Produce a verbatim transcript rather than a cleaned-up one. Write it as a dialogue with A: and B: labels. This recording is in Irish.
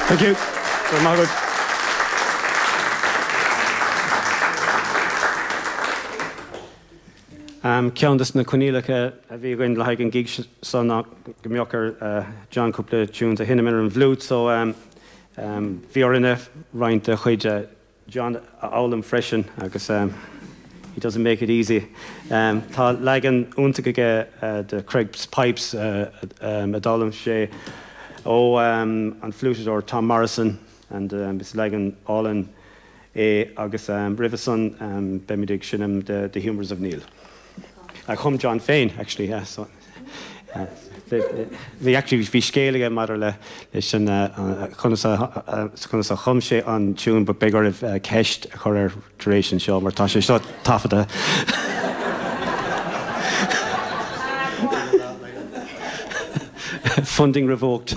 A: Thank you. Go raibh maith agat. Um, ceann des na coinníollacha a bhí againn le haghaidh an gig seo ná go mbeadh ar uh, John cúpla tunes a sheinm ar an bhfliúit, so um, um, bhí orainne roinnt de chuid uh, John a fhoghlaim freisin agus um, he doesn't make it easy. Um, tá leagan iontach aige uh, de Craig's Pipes uh, um, a d'fhoghlaim sé ó um, an fliútadóir Tom Morrison and um, is leagan álainn é agus um, roimhe san um, beimid ag seinm the, the Humours of Neil. A chum John féin actually yeah, so, uh, bhí actually bhí scéal aige maidir le leis an conas conas a chum sé an tune but beidh oraibh ceist a chur air tar éis an seo mar tá sé seo taifeadta. Funding revoked.